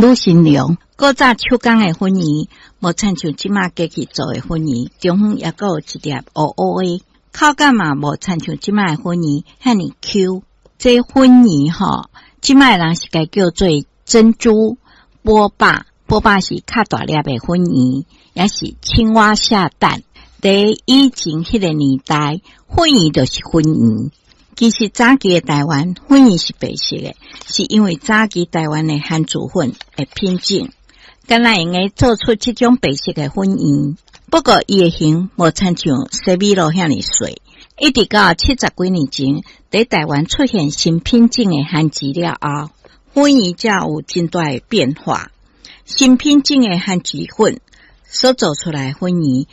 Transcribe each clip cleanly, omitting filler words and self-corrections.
女新娘。古早手工的粉圓，無親像這馬機器做的粉圓，中間猶閣有一粒烏烏的，口感嘛無親像這馬的粉圓遐爾 Q。這粉圓吼，這馬的人是共叫做珍珠波霸，波霸是較大粒的粉圓，抑是青蛙下蛋。佇以前彼個年代，粉圓就是粉圓。其實早期的台灣粉圓是白色的，是因為早期台灣的番薯粉的品種，敢若會用得做出這種白色的粉圓。不過伊的形無親像西米露遐爾細。一直到七十幾年前，佇台灣出現新品種的番薯了後，粉圓才有真大的變化。新品種的番薯粉所做出來的粉圓，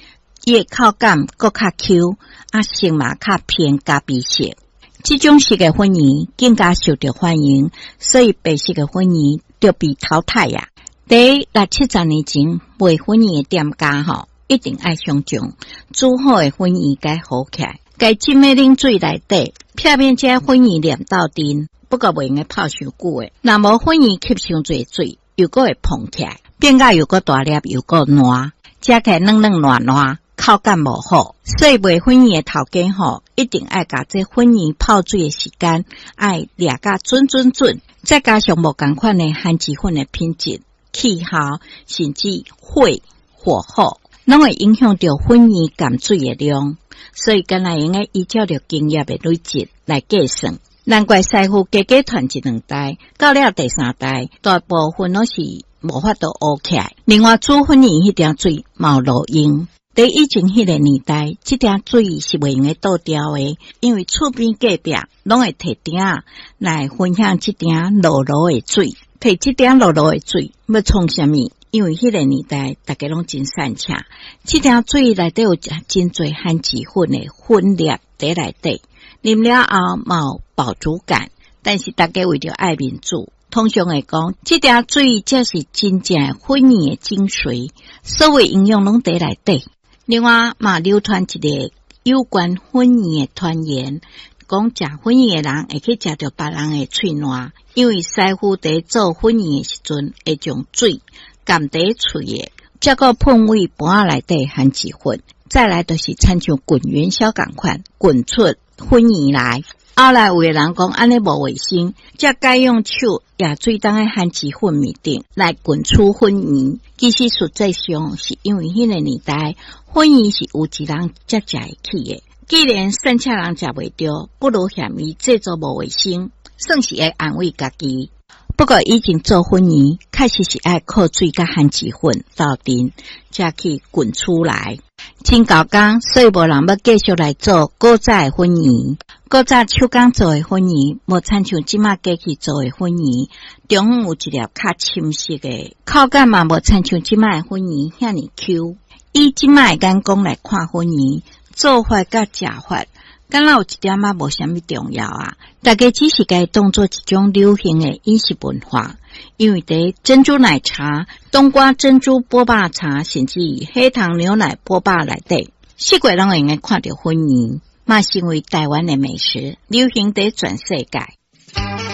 伊的口感閣較 Q，啊色嘛較偏咖啡色。這種色的粉圓更加受著歡迎，所以白色的粉圓就被淘汰呀。佇六七十年前賣粉圓的店家吼，一定愛先將煮好的粉圓共好起來，共浸佇冷水內底，避免這粉圓黏鬥陣。不過袂用得泡傷久的，若無粉圓吸傷濟水，又閣會膨起來，變甲又閣大粒又閣爛，食起來軟軟爛爛，口感無好。所以賣粉圓的頭家吼，一定愛共這粉圓泡水的時間愛掠甲準準準，再加上無仝款的番薯粉的品質、氣候，甚至火火候，攏會影響著粉圓含水的量。所以，敢若會用得依照著經驗的累積來計算。難怪師傅加加傳一兩代，到了第三代，大部分攏是無法度烏起來。另外，煮粉圓彼鼎水嘛有路用。佇以前彼個年代，這鼎水是袂用得倒掉的，因為厝邊隔壁攏會提鼎仔來分享這鼎漉漉的水。提這鼎漉漉的水欲創啥物？因為彼個年代大家攏真散赤，這鼎水內底有真濟番薯粉的粉粒佇內底，啉了後嘛有飽足感。但是大家為著愛面子，通常會講，這鼎水才是真正的粉圓的精髓，所有營養攏佇內底。另外嘛流傳一個有關粉圓的傳言，講食粉圓的人會去食著別人的喙瀾，因為師傅佇做粉圓的時陣會將水含佇喙的，才閣噴佇盤仔內底番薯粉。再來就是親像滾元宵仝款，滾出粉圓來。後來有的人講按呢無衛生，才改用手舀水佇彼番薯粉面頂來滾出粉圓。其實實際上是因為彼個年代粉圓是有錢人才食會起的。既然散赤人食袂著，不如嫌伊製作無衛生，算是會安慰家己。不過以前做粉圓，確實是愛靠水佮番薯粉鬥陣，才去滾出來。真猴工，所以無人欲繼續來做古早的粉圓。古早手工做的粉圓，無親像這馬機器做的粉圓，中間有一粒較深色的，口感嘛無親像這馬的粉圓遐爾 Q。以這馬的眼光來看粉圓，做法佮食法，敢若有一點仔無啥物重要啊！大家只是共伊當做一種流行的飲食文化，因為佇珍珠奶茶、冬瓜珍珠波霸茶，甚至黑糖牛奶波霸內底，四界攏會用得看著粉圓，嘛成為台灣的美食，流行佇全世界。